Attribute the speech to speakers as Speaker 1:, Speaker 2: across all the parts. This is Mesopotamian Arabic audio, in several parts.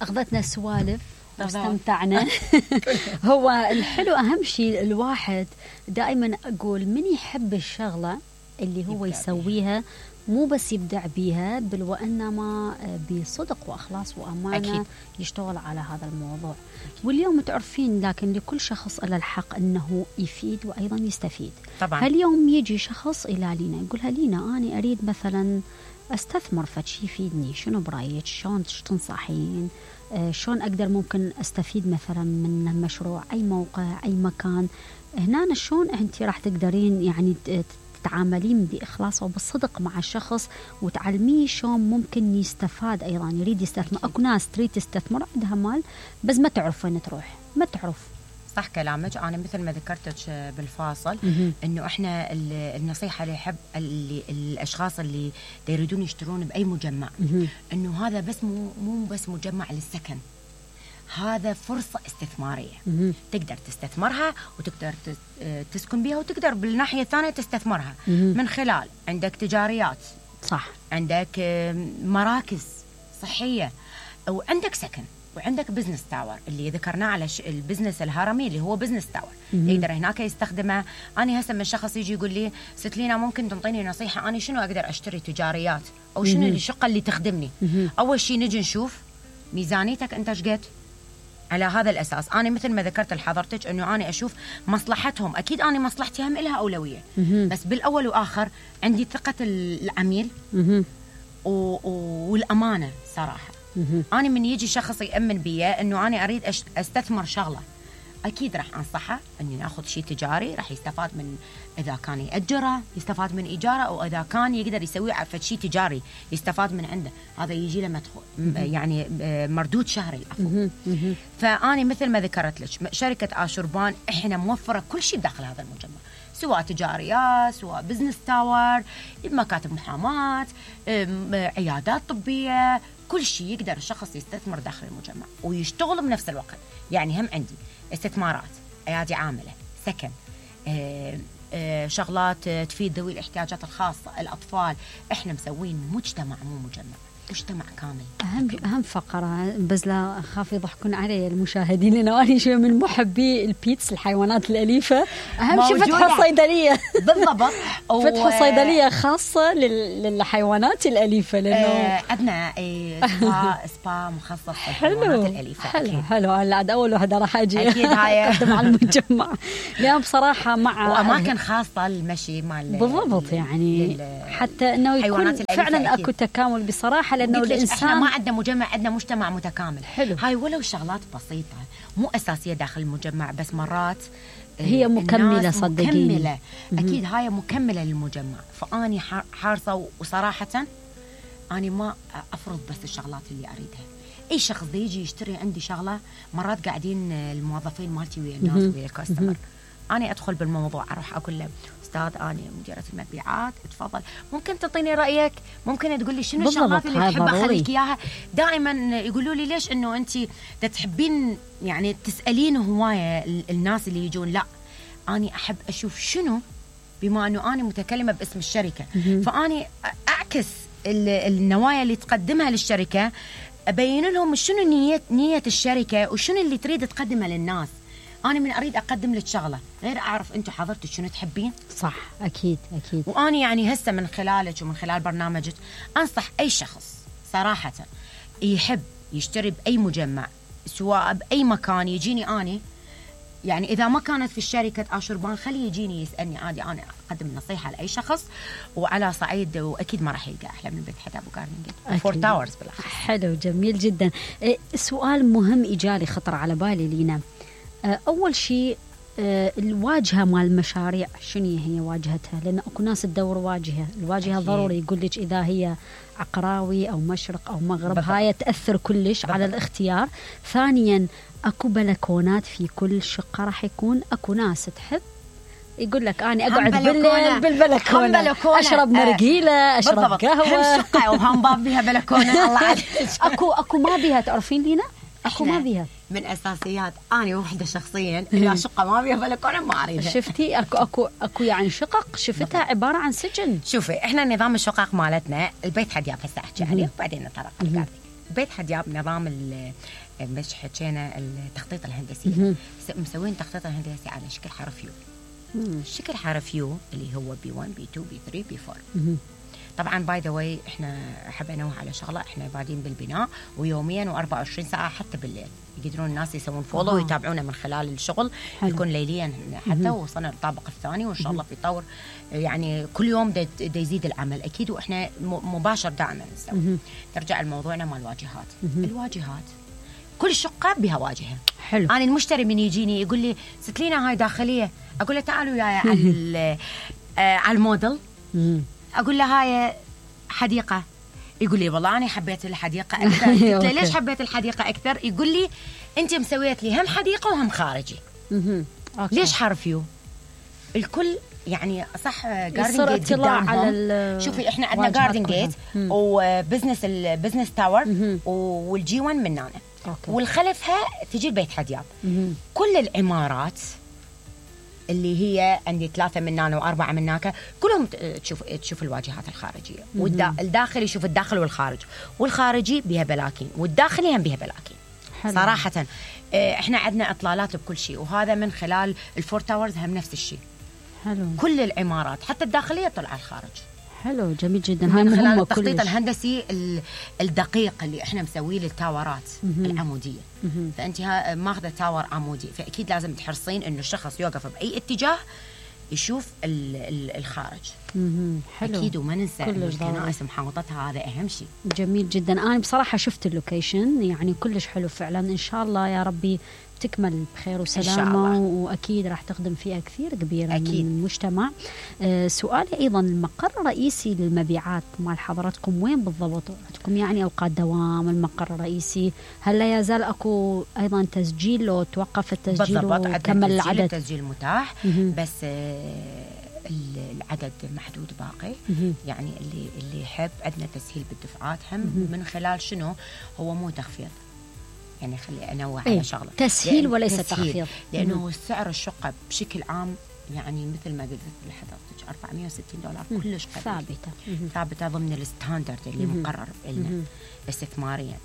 Speaker 1: أخذتنا السوالف واستمتعنا. هو الحلو أهم شيء الواحد دائما أقول من يحب الشغلة اللي هو يسويها مو بس يبدع بيها بل وإنما بصدق وأخلاص وأمانة أكيد. يشتغل على هذا الموضوع. واليوم تعرفين لكن لكل شخص له الحق أنه يفيد وأيضا يستفيد. طبعا هاليوم يجي شخص إلى لينا يقولها لينا أنا أريد مثلا أستثمر فشي يفيدني، شنو برأيك؟ شلون تنصحين؟ شلون أقدر ممكن أستفيد مثلا من المشروع؟ أي موقع، أي مكان؟ هنا شلون أنت راح تقدرين يعني تتعاملين بإخلاص وبالصدق مع الشخص وتعلميه شلون ممكن يستفاد أيضا يريد يستثمر. أكو ناس تريد تستثمر عندها مال بس ما تعرف وين تروح، ما تعرف.
Speaker 2: صح كلامك. أنا مثل ما ذكرتك بالفاصل إنه إحنا النصيحة اللي يحب الأشخاص اللي يريدون يشترون بأي مجمع إنه هذا بس مو بس مجمع للسكن، هذا فرصة استثمارية تقدر تستثمرها وتقدر تسكن بها وتقدر بالناحية الثانية تستثمرها من خلال عندك تجاريات، صح، عندك مراكز صحية وعندك سكن وعندك بزنس تاور اللي ذكرناه على البزنس الهرمي اللي هو بزنس تاور يقدر هناك يستخدمه. أنا هسه من شخص يجي يقول لي ست لينا ممكن تنطيني نصيحة أنا شنو أقدر أشتري تجاريات أو شنو الشقة اللي تخدمني؟ أول شيء نجي نشوف ميزانيتك أنت شقد. على هذا الأساس أنا مثل ما ذكرت لحضرتك أنه أنا أشوف مصلحتهم، أكيد أنا مصلحتي هم إلها أولوية بس بالأول وآخر عندي ثقة العميل والأمانة صراحة. أنا من يجي شخص يأمن بي أنه أنا أريد أستثمر شغلة أكيد راح أنصحه أني نأخذ شيء تجاري راح يستفاد من، إذا كان يأجره يستفاد من إيجاره أو إذا كان يقدر يسوي عفوا شيء تجاري يستفاد من عنده، هذا يجي له مدخول يعني مردود شهري عفوا. فأنا مثل ما ذكرت لك شركة آشوربان إحنا موفرة كل شيء داخل هذا المجمع، سواء تجاريات سواء بزنس تاور، مكاتب محاماة، عيادات طبية، كل شيء يقدر الشخص يستثمر داخل المجمع ويشتغل بنفس الوقت. يعني هم عندي استثمارات، أيادي عاملة، سكن، شغلات تفيد ذوي الاحتياجات الخاصة، الأطفال. إحنا مسوين مجتمع مو مجمع، مجتمع كامل.
Speaker 1: أهم فقرة بس لا أخاف يضحكون علي المشاهدين لأنه أنا شوي من محبي البيتس الحيوانات الأليفة. أهم شيء فتح صيدلية
Speaker 2: بالضبط
Speaker 1: فتح صيدلية خاصة للحيوانات الأليفة لأنه
Speaker 2: عندنا سبا مخصص للحيوانات الأليفة.
Speaker 1: حلو أنا عاد أول واحدة راح أجي
Speaker 2: أكيد هاي
Speaker 1: مع المجمع لأن بصراحة مع
Speaker 2: وأماكن خاصة للمشي مال
Speaker 1: بالضبط يعني حتى إنه يكون فعلا أكو تكامل بصراحة لأنه الإنسان
Speaker 2: احنا ما عندنا مجمع، عندنا مجتمع متكامل.
Speaker 1: حلو.
Speaker 2: هاي ولو شغلات بسيطة مو أساسية داخل المجمع بس مرات
Speaker 1: هي مكملة صدقيني
Speaker 2: مكملة. أكيد هاي مكملة للمجمع. فأني حارصة وصراحة أنا ما أفرض بس الشغلات اللي أريدها. أي شخص دي يجي يشتري عندي شغلة مرات قاعدين الموظفين مالتي ويا الناس ويا الكاستمر، أنا أدخل بالموضوع أروح أقول له أستاذ أنا مديرة المبيعات اتفضل ممكن تعطيني رأيك، ممكن تقول لي شنو الشغلات اللي تحب أخليك إياها. دائما يقولوا لي ليش إنه أنت تحبين يعني تسألين هواية الناس اللي يجون. لا أنا أحب أشوف شنو بما أنه أنا متكلمة باسم الشركة فأني أعكس النوايا اللي تقدمها للشركة، أبين لهم شنو نية الشركة وشنو اللي تريد تقدمه للناس. أنا من أريد أقدم لك شغلة غير أعرف أنتوا حضرتك شنو تحبين.
Speaker 1: صح أكيد.
Speaker 2: وأنا يعني هسه من خلالك ومن خلال برنامجك أنصح أي شخص صراحة يحب يشتري بأي مجمع سواء بأي مكان يجيني أنا، يعني إذا ما كانت في الشركة آشوربان خليه يجيني يسألني عادي، أنا أقدم نصيحة لأي شخص وعلى صعيد وأكيد ما راح يلقى أحلى من بيت حتى أبو قارنين فور تاورز بالأخير.
Speaker 1: حلو جميل جدا. سؤال مهم إجالي خطر على بالي لينا. أول شيء الواجهة مال المشاريع شنو هي واجهتها؟ لأن أكو ناس تدور الواجهة ضروري يقول لك إذا هي عقراوي أو مشرق أو مغرب هاي تأثر كلش على الاختيار. ثانيا أكو بلكونات في كل شقة راح يكون أكو ناس تحب يقول لك أنا أقعد بالليل بالبلكونة أشرب مرقيلة أشرب قهوة
Speaker 2: هم شقة وهم باب بيها بلكونة الله عليك.
Speaker 1: أكو ما بيها تعرفين لينا أكو ما بيها
Speaker 2: من أساسيات أنا وحدة شخصيا إذا شقة ما بيها بلكونة ما أريدها.
Speaker 1: شفتي أكو يعني شقق شفتها عبارة عن سجن.
Speaker 2: شوفي إحنا نظام الشقق مالتنا البيت حد ياب هسه أحكي عليه وبعدين نطرق القاعدة. بيت حدياب نظام مش حكينا التخطيط الهندسي، مسوين تخطيط الهندسي على شكل حرف يو. شكل حرف يو اللي هو B1 B2 B3 B4. طبعا باي ذا واي احنا احب انوه على شغله، احنا بادين بالبناء ويوميا و24 ساعه حتى بالليل يقدرون الناس يسوون فولو ويتابعونا من خلال الشغل. يكون ليليا حتى وصلنا للطابق الثاني وان شاء الله بيطور، يعني كل يوم دا يزيد العمل اكيد، واحنا مباشر دائما نسوي. نرجع لموضوعنا مال الواجهات. الواجهات كل شقه بها واجهه.
Speaker 1: حلو.
Speaker 2: انا المشتري من يجيني يقول لي ستلينا هاي داخليه، اقول له تعالوا وياي على الموديل. اقول له هاي حديقه، يقول لي والله انا حبيت الحديقه اكثر. قلت له ليش حبيت الحديقه اكثر؟ يقول لي انت مسويت لي هم حديقه وهم خارجي. ليش حرف يو؟ الكل يعني صح. جاردن جيت قدامهم. شوفي احنا عندنا جاردن جيت وبزنس البزنس تاور والجي 1 مننا، والخلفها تجي البيت حدياب. كل العمارات اللي هي عندي 3 من هنا و4 من هناك كلهم تشوف الواجهات الخارجيه، والداخل يشوف الداخل والخارج، والخارجي بها بلاكين والداخلي هم بها بلاكين. حلو. صراحه احنا عندنا اطلالات بكل شيء، وهذا من خلال الفور تاورز هم نفس الشيء.
Speaker 1: حلو.
Speaker 2: كل العمارات حتى الداخليه طلع الخارج.
Speaker 1: حلو جميل جدا.
Speaker 2: هاي من خلال التخطيط الهندسي الدقيق اللي احنا مسويه للتاورات العموديه. فانت ماخذه تاور عمودي، فاكيد لازم تحرصين انه الشخص يوقف باي اتجاه يشوف الخارج.
Speaker 1: حلو.
Speaker 2: اكيد. وما ننسى الكنائس محاوطتها، هذا اهم شيء.
Speaker 1: جميل جدا. انا بصراحه شفت اللوكيشن يعني كلش حلو فعلا. ان شاء الله يا ربي تكمل بخير وسلامة، وأكيد راح تخدم فئة كثير كبيرة أكيد من المجتمع. سؤالي أيضا، المقر الرئيسي للمبيعات مال حضراتكم وين بالضبط؟ عندكم يعني أوقات دوام المقر الرئيسي؟ هل لا يزال أكو أيضا تسجيل لو توقف التسجيل وكمل العدد؟
Speaker 2: التسجيل متاح بس العدد محدود باقي. يعني اللي يحب عندنا تسهيل بالدفعات هم من خلال شنو هو مو تخفيض، يعني خلي أنوع على شغلة
Speaker 1: تسهيل وليس تخفيض،
Speaker 2: لأنه سعر الشقة بشكل عام يعني مثل ما قلت لحضرتك $460 كلش ثابتة ضمن الستاندرد اللي مقرر لنا استثماريا.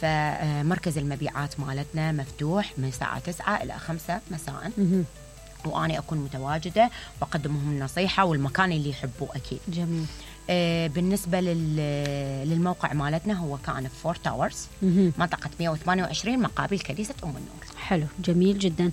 Speaker 2: فمركز المبيعات مالتنا مفتوح من الساعة 9 إلى 5 مساء، وأنا أكون متواجدة وأقدمهم النصيحة والمكان اللي يحبوه أكيد.
Speaker 1: جميل.
Speaker 2: بالنسبة للموقع مالتنا هو كان في 4 تاورز منطقة 128 مقابل كنيسة أم النور.
Speaker 1: حلو جميل جدا.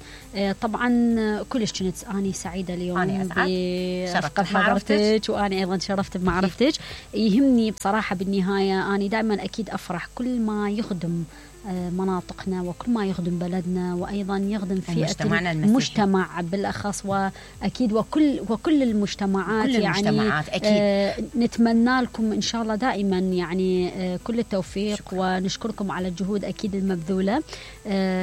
Speaker 1: طبعا كلش كنت أنا سعيدة اليوم بشرفت حضرتك، وأنا أيضا شرفت بمعرفتك. يهمني بصراحة بالنهاية أنا دائما أكيد أفرح كل ما يخدم مناطقنا وكل ما يخدم بلدنا، وأيضا يخدم فئة المجتمع بالأخص، وأكيد وكل المجتمعات. كل يعني المجتمعات أكيد. نتمنى لكم إن شاء الله دائما يعني كل التوفيق. شكرا. ونشكركم على الجهود أكيد المبذولة.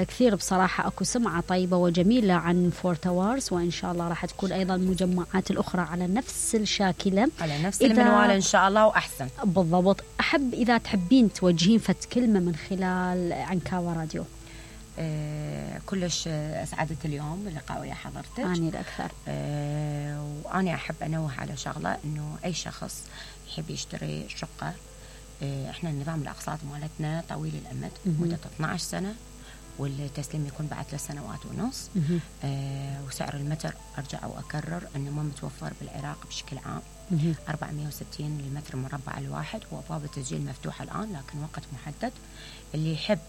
Speaker 1: كثير بصراحة أكو سمعة طيبة وجميلة عن 4 تاورز، وإن شاء الله راح تكون أيضا المجمعات الأخرى على نفس الشاكلة، على نفس المنوال إن شاء الله وأحسن. بالضبط. أحب إذا تحبين توجهين فت كلمة من خلال عنكاوة راديو.
Speaker 2: كلش أسعدت اليوم اللقاء ويا حضرتك.
Speaker 1: أنا الأكثر.
Speaker 2: وأنا أحب أنوه على شغلة، إنه أي شخص يحب يشتري شقة، إحنا النظام الأقساط مالتنا طويل الأمد مدة 12 سنة، والتسليم يكون بعد 3 سنوات ونص. وسعر المتر أرجع وأكرر أنه ما متوفر بالعراق بشكل عام. 460 للمتر مربع الواحد، وأبواب التسجيل مفتوحة الآن لكن وقت محدد. اللي يحب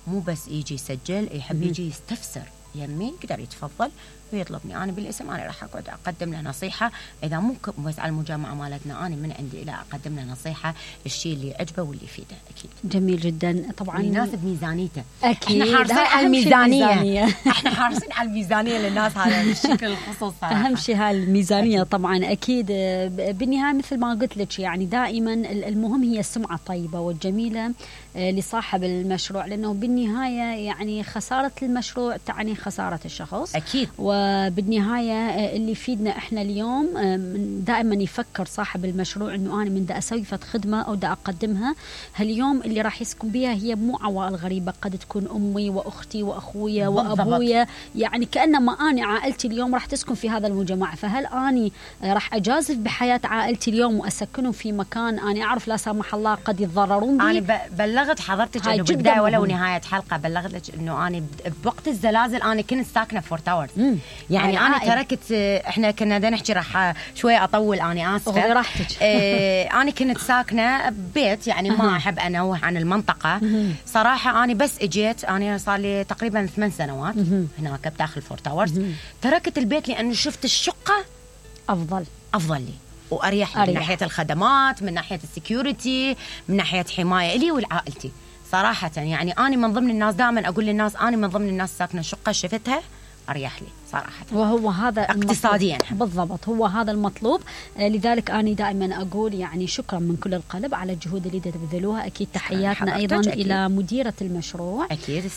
Speaker 2: مو بس يجي يسجل، يحب يجي يستفسر يمي يقدر يتفضل ويطلبني أنا بالاسم. أنا راح أقعد أقدم له نصيحة، إذا مو بس على المجامعة مالتنا، أنا من عندي إلى أقدم له نصيحة الشيء اللي يعجبه واللي يفيده أكيد. جميل جدا. طبعا يناسب ميزانيته أكيد. إحنا حارسين على الميزانية. إحنا حارسين على الميزانية للناس، هذا بالشكل الخصوصي. أهم شيء هاي الميزانية أكيد. طبعا أكيد. بالنهاية مثل ما قلت لك يعني دائما المهم هي السمعة الطيبة والجميلة لصاحب المشروع، لأنه بالنهاية يعني خسارة المشروع تعني
Speaker 1: خسارة الشخص
Speaker 2: أكيد.
Speaker 1: وبالنهاية اللي يفيدنا إحنا اليوم دائما يفكر صاحب المشروع إنه أنا من دا أسوي فد خدمة أو دا أقدمها هاليوم اللي راح يسكن بها هي مو عوائل غريبة، قد تكون أمي وأختي وأخويا وأبويا، يعني كأنما أنا عائلتي اليوم راح تسكن في هذا المجتمع، فهل أنا راح أجازف بحياة عائلتي اليوم وأسكنهم في مكان أنا أعرف لا سمح الله قد يتضررون بي؟
Speaker 2: أنا بلغت حضرتك إنه بالبداية ولو نهاية حلقة بلغت لك إنه أنا بوقت الزلازل أنا كنت ساكنة فور تاورز، يعني أنا تركت، إحنا كنا بدنا نحكي راح شوي أطول، أنا آسفة
Speaker 1: راحتك.
Speaker 2: أنا كنت ساكنة ببيت يعني ما أحب أنوه عن المنطقة صراحة. أنا بس إجيت، أنا صار لي تقريبا 8 سنوات هناك بداخل فور تاورز، تركت البيت لأنه شفت الشقة
Speaker 1: أفضل
Speaker 2: لي وأريح لي من ناحية الخدمات، من ناحية السكيورتي، من ناحية حماية لي ولعائلتي صراحة. يعني أنا من ضمن الناس دائما أقول للناس أنا من ضمن الناس ساكنة شقة شفتها أريح لي صراحة،
Speaker 1: وهو هذا
Speaker 2: اقتصاديا
Speaker 1: بالضبط، هو هذا المطلوب. لذلك أنا دائما أقول يعني شكرا من كل القلب على الجهود اللي تبذلوها. أكيد تحياتنا أيضا أكيد إلى مديرة المشروع
Speaker 2: أكيد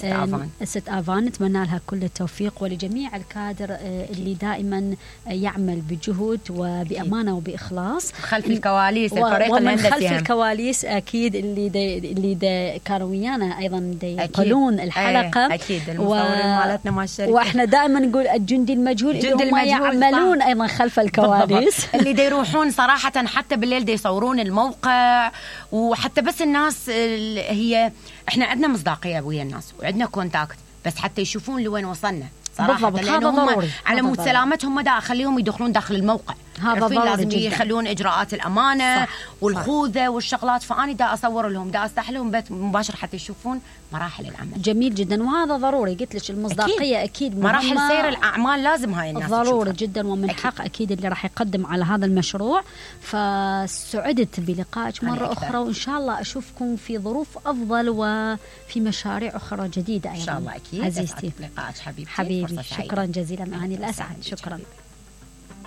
Speaker 1: ست آفان، نتمنى لها كل التوفيق، ولجميع الكادر اللي دائما يعمل بجهد وبأمانة وبإخلاص
Speaker 2: خلف الكواليس، الفريق
Speaker 1: ومن خلف الكواليس أكيد اللي كانوا ويانا أيضا يقولون الحلقة
Speaker 2: أكيد المصورين مالتنا مع الشركة،
Speaker 1: وإحنا دائما نقول الجندي المجهول اللي هم يعملون أيضا خلف الكواليس
Speaker 2: اللي دي يروحون صراحة حتى بالليل دي يصورون الموقع، وحتى بس الناس هي إحنا عندنا مصداقية ويا الناس وعندنا كونتاكت، بس حتى يشوفون لوين وصلنا صراحة، لأنه هم على مود سلامتهم ما دا أخليهم يدخلون داخل الموقع،
Speaker 1: هذا
Speaker 2: لازم يخلون إجراءات الأمانة والخوذة والشغلات، فأنا دا أصور لهم، دا أفتح لهم بث مباشر حتى يشوفون مراحل العمل.
Speaker 1: جميل جدا، وهذا ضروري، قلت لك المصداقية أكيد
Speaker 2: مراحل سير الأعمال لازم هاي الناس
Speaker 1: ضروري جدا، ومن حق أكيد اللي راح يقدم على هذا المشروع. فسعدت بلقائك مرة أخرى، وإن شاء الله أشوفكم في ظروف أفضل وفي مشاريع أخرى جديدة أيضا
Speaker 2: إن شاء الله. أكيد
Speaker 1: عزيزتي
Speaker 2: لقائك حبيبي،
Speaker 1: شكرا جزيلا، أنا الأسعد، شكرا.